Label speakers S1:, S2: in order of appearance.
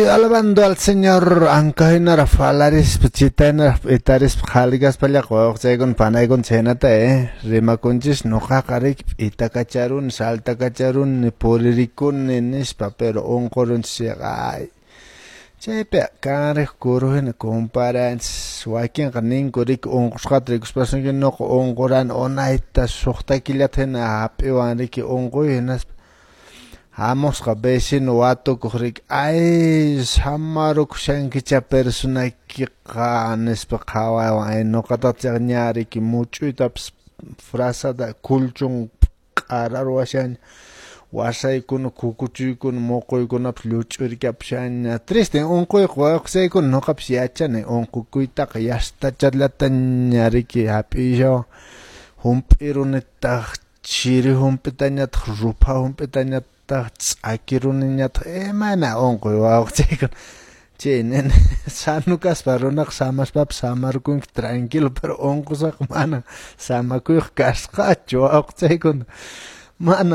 S1: Alabando al Señor, ankahinaraq falarispa, chitahinaraq p'itarispa, qhalikaspallaqa wawqichaykuna panaykuna chhaynata rimakunchis, nuqaqa riki p'itakacharuni, saltakacharuni, puririkuni nispa, pero unqurunchis chayqa ay chaypi kanriq kuruhina comparanchis, wakinqa ninku riki unqusqata rikuspasunki nuqa unqurani unayta suqta killata hina hap'iwan riki unquy hinaspa hamusqa vecino watukuq riki ay samarukushankichá personaykiqa nispa qhawaywan ay nuqatataq chayqa ña riki much'uytapas frazada kulchun q'araruwashaña wasaykuna kukuchuykuna muquykunapas lluch'urikapushaña triste unquyqa wawqichaykuna nuqapas yachani unqukuytaqa yastachallataña riki hap'ishawan hump'irunitaq chiri hump'itañataq rupha hump'itañataq ch'akiruniñataq imayna unquy wawqichaykuna chay nini sano kaspa runaqa samaspapas samarkunki tranquilo pero unqusqaqa mana samakuyqa kasqachu wawqichaykuna mana.